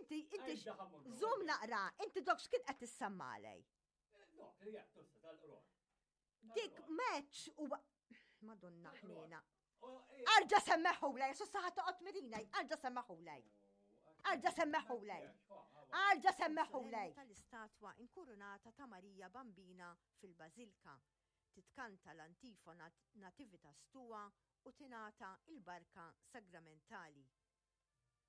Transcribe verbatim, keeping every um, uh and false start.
Inti, inti, żomm naqra, inti dok x'kien qed tissammalej. Dik match u Madonna ħnina. Arġa semmeħulej, su saħat toqgħod mirina, arġa semmeħulej. Arġa semmeħulej. Arġa semmeħulej. Tal-istatwa inkurunata ta' Marija Bambina fil-Bażilka. Titkanta l-antifona Nativitas Tua u tingħata il-barka sagramentali.